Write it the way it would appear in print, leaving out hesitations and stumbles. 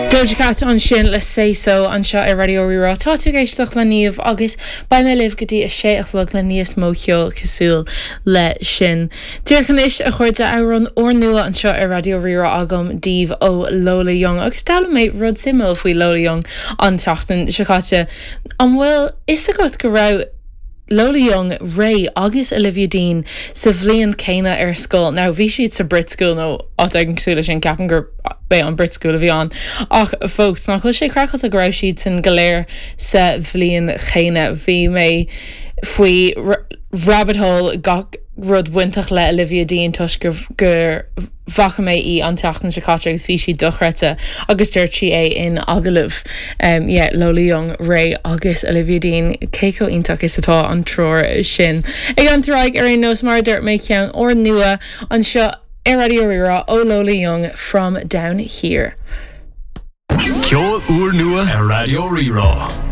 Doja Cat ansin le Say So anseo ar Raidió Rí-Rá. Tá tú ag éisteacht le Niamh agus beidh mé libh go dtí a sé a chlog le níos mó ceoil cosúil le sin. Díreach anois, a chairde, amhrán úrnua anseo ar Raidió Rí-Rá agam daoibh ó Lola Young agus d'fhoghlaim mé rud suimiúil faoi Lola Young an tseachtain seo caite. An bhfuil fhios agat go raibh Lola Young, Raye agus Olivia Dean sa bhliain céanna ar scoil. Now bhí siad sa Brit School nó áit éigin cosúil leis sin, ceapaim gur é an Brit School a bhí ann. Ach fós, nach bhfuil sé craiceáilte go raibh siadsan go léir sa bhliain chéanna. Bhí mé faoi rabbit hole gach rud bainteach le Olivia Dean toisc gur bhfaca mé í an tseachtain seo caite agus bhí sí dochreidte agus dúirt sí é in agallamh. Yeah, Lola Young, Raye agus Olivia Dean, cé chomh iontach is atá an triúr sin. Ag leanúint ar aghaidh ar aon nós, mar a dúirt mé, ceann úrnua anseo ar Raidió Rí-Rá ó Lola Young, From Down Here. Ceol úrnua ar Raidió Rí-Rá.